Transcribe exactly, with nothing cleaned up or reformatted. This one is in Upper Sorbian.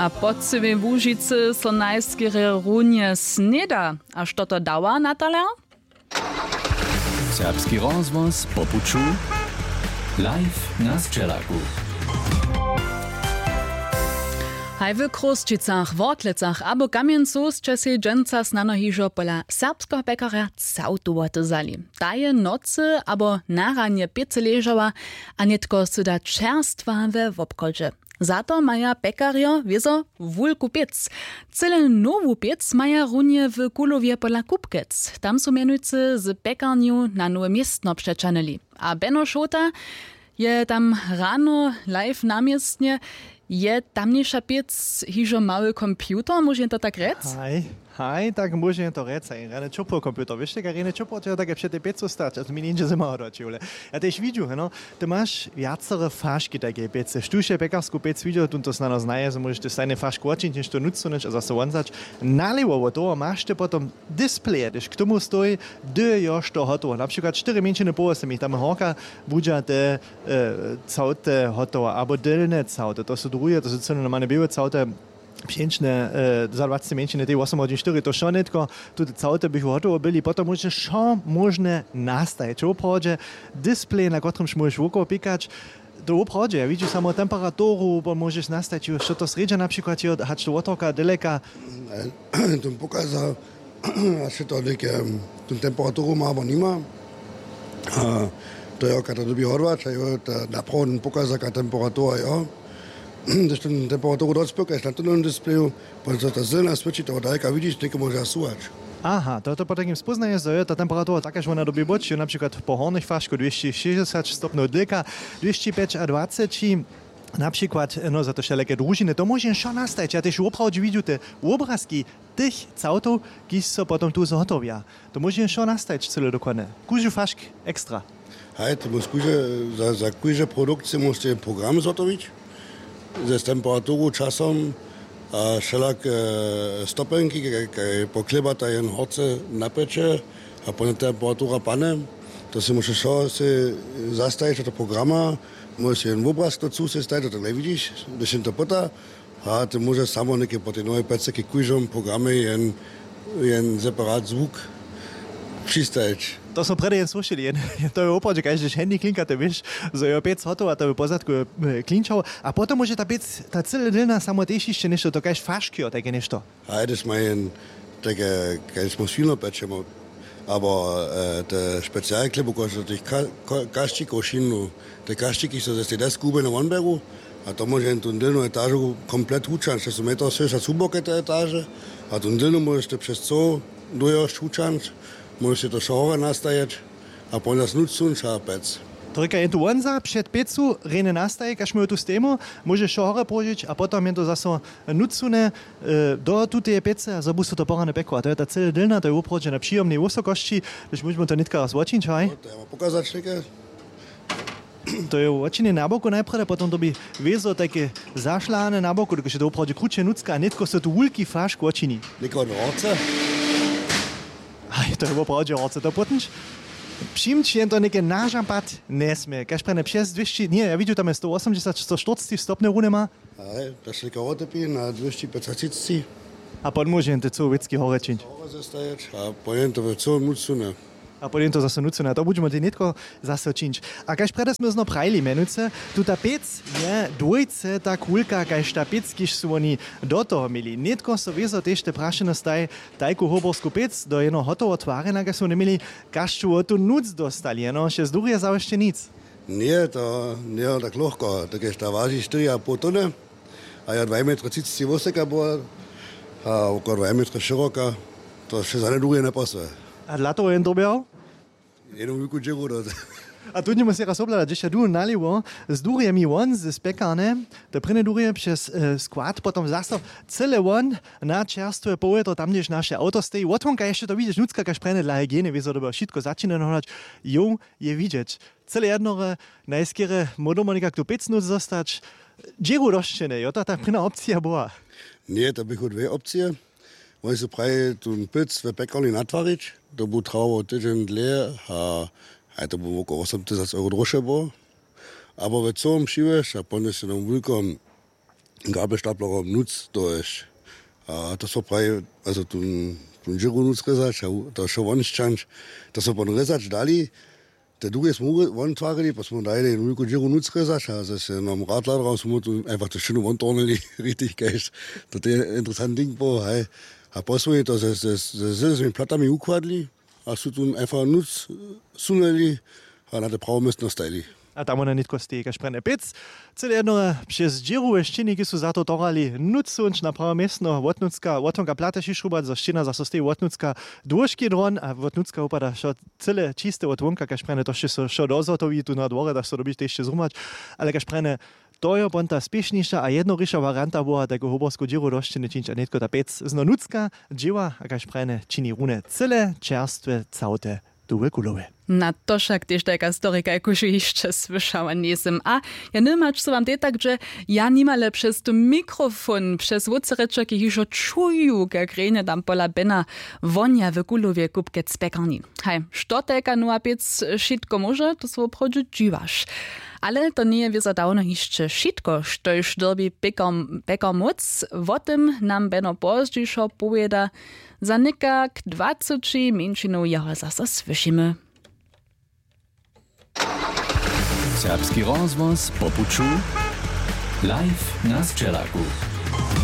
A po cyłej Łužicy so najskerje runje sněda. A što to dawa, Natalia? Serbski rozhłos po puću. Live na Sćelaku. Haj w Chrósćicach, Worklecach abo Kamjencu sće sej dźensa snano hižo pola serbskeho pjekarja całtu woty wzali. Ta je nocy abo na ranje pěcy ležała a nětko sy da čerstwa we wobchodźe. Za to maja pjekarjo wězo wulku pěc. Cyle nowu pěc maja runje w Kulowje pola Kupkec. Tam su mjenujcy z pjekarnju na nowe městno přećahnyli. A Beno Šołta je tam rano live na městnje. Je tamniša pěc hižo mały computer, móže to tak rjec? Haj, haj, tak móže to rjec. Haj, rjany čopło computer. Wěš, tak rjany čopło, to je take před tej pěcu stać, a to mi njeńdźe zymaro do čewle. Ja tež widźu, no, ty maš wjacore faški tajkeje pěcy. Štóž je pjekarsku pěc widźał, tón to snano znaje, zo móžeš ty stajnje fašku wočińć, něšto nutř sunyć a zaso wonzać. Nalewo wot toho maš ty potom displeje, hdyž k tomu stoji, hdy je još to hotowo. Na přikład štyri mjeńšiny połosy mi tam horka budźa te, e, całte hotowa, abo dylne całte, to su druhe, to su cyle normalne běłe całte, pšeńčne, e, za dwaceći mjeńšiny, tej wosom hodźin štyri, to wšo nětko, tute całte bychu hotowo byli, potom móžeš wšo móžne nastajić. Woprawdźe displej, na kotrymž móžeš wokoło pikać, to woprawdźe, ja widźu samo temperaturu, bo móžeš nastajić, što to srjedźa na přikład je, hač to wotorka, daleka. Tón pokaza, hač je to něke, tón temperaturu ma abo nima. A to je, kad to dyrbi hodłać, a jo, ta naprawo tón pokaza, kad temperatura je. Hdyž tón temperaturu dospěkaš na tym displeju, potom so ta zelena swěći, to daleka widźiš, něke móže suwać. Aha, to, to potom spoznaje, zo je ta temperatura tak, kaž wona dyrbi być, jo, na přikład po hornych fašku dwěsći šěsćdźesat stopnjow, dylka dwěsći pjećadwaceći, na přikład, no, za to wšelake družiny, to móže wšo nastajić. Ja tež woprawdźe widźu te wobrazki tych całtow, kiž so potom tu zhotowja. To móže wšo nastajić cyle dokładne. Kóždy fašk ekstra. Haj, to móžeš kóždy, za, za kóžde produkcije móžeš program zhotowić. Z temperaturu, časom a wšelak, e, stopenki, kaj, kaj poklěbata jen horce napjeće a potom temperatura pane. To sej móžeš wšo sej zastajić do programa, móžeš jen wobraz do cu sej stajić, to tak njewidziš, hdyž jen to pyta. A ty móžeš samo něke po tej nowej pjecy k kóždemu programje jen, jen separat zwuk přistajić. To smo prjedy jen słyšeli, jen, to je woprawdźe, kaž hdyž Handy klinka, ty wěš, zo je pjec hotowa, to by pozadku, e, klinčał. A potom móže ta pjec, ta cyle dylna, samo tež hišće něšto, to kaž faški, jo, tajke něšto. A hdyž ma jen, tak, e, kaž smo swino pečemo, abo, e, te specialke, bo kož do tych ka-, ka-, kašćikow šinu, te kašćiki so ze tej desku hubjene wonberu, a to móže jen tu dylnu etažu komplet hučanć, to su mjetow swyša suboke te etaže, a tu dylnu móžeš ty přez coł dójosć hučanć, móžeš ty to wšo horje nastajeć, a po nas nutř sunča pec. To rěka jen tu wonza před pěcu, rjeny nastaj, kaž móju tu stejmu, móžeš wšo horje połožić a potom jen to zaso nutř sune, e, do tuteje pěcy a zo bu so to porane pjekło. A to je ta cyle dylna, to je woprawdźe na přijomnej wysokosći, hdyž móžemy to nětka raz wočińć, haj? No, to ja mam pokazać něke. To je wočinjene na boku najprjedy, potom to bi wězo tajke zašlahane na boku, dokelž je to woprawdźe kruće nutřka a nětko so tu wulki fašk wočini. Někoho do horce? Haj, to je woprawdźe horce, to potom přińć jen to něke na žampad njesmě. Kaž prjedy přez dwěsći, ně, ja widźu, tam je sto wosomdźesat, sto štyrceći stopnjow runje ma. Haj, to se někoho wotepi na dwěsći pjecaćisći. A potom móže jen te cołowěcki horje čińć. Horje zastajić a po jen to w cołym nutř sune. A potom to zaso nutř sune. A to budźemy tej nětko zaso čińć. A kaž prjedy smy zno prajili, mjenujcy, tuta pěc je dwójce tak wulka, kaž ta pěc, kiž su woni do toho měli. Nětko so wězo tež te prašeny staj, tajku hoborsku pěc do jeno hotowo twarjena, kaž su woni měli, kaž su wo tu nutř dostali, jeno hišće z durje zawěsće nic. Ně, to njeje tak lochko, tak je ta waži štyri a poł tony. A ja dwaj metry třiceći wosoka była a około dwaj metry šeroka, to wše za njedłuhe njepasuje. A dla toho jen dyrbjał? Jednu wulku dźěru do. A tu dnimo sej raz obhlada, dźež ja du nalewo, z durjemi won z pjekarnje, to prěnje durje přez, e, skład, potom zaso cyle won na čerstwe powětro, tam hdźež naše awto steji, wotwonka hišće to widźeć, nutřka kaž prjene dla hygieny, wězo dyrbjał wšitko začinjeno hladać, jo, je widźeć. Cyle jednore, najskerje móhł domo někak tu pěc nutř dostać. Dźěru dosćene, jo, to ta prěna opcija była. Ně, to běchu dwě opcije. Woni su prajili tu pěc w pjekarni natwarić, to bu trawało tydźeń dlě a, a to bu wokoło wosom tysac euro droše było. Abo we cołym přiwjesć a ponjesć na wulkom Gabelstaplerom nutř to ješ. A to so praji, also tón dźěru nutř rězać a to wšo won sćanć, to so pon rězać dali. Te duge smo wontwarili, pa smo dali jednu wulku dźěru nutř rězać a zase nam radladram smo tu einfach to wšinu wontornili. Richtig kaž to je interesant ding po haj. A posłuchaj to ze zwymi platami układli a su tu einfach nutř suneli a na te prawo městno stajili. A tam wona nětko steji kaž prjene pěc. Cyle jedno, přez dźěru we šćěni kiž su za to torali nutř słónč na prawe městno wotnutřka wotwonka plate šišrubat zo šćěna zaso steji wotnutřka dłóžki dron a wotnutřka wupada wšo cyle čiste wotwonka kaž prjene to sće so wšo dozhotowi tu na dworje daš so dobić tež zhrumać. Ale kaž prjene to jo pon ta spěšniša a jednoriša warianta była tajku hoborsku dźěru do šćěny čińć a nětko ta pěc zno nutřka dźěła a kaž prjene čini rune cyle čerstwe całte tu we kulowe. Na to wšak tež tajka storika jakuž hišće słyšała njejsym a ja nymać su wam te tak dźe. Ja nimale přez tu mikrofon přez wótřerečerki hižo čuju kak rjenje tam pola bena wonja w kulowje kupkec pjekarni. Haj što tajka nowa pěc wšitko móže to so woprawdźe dźiwaš. Ale to njeje wězo dawno hišće wšitko štož dyrbi pekar móc wo tym nam beno pozdźišo powěda. Za někak dwaceći mjeńšinow jeho zaso słyšimy. Serbski rozhłos po puću live na sćelaku.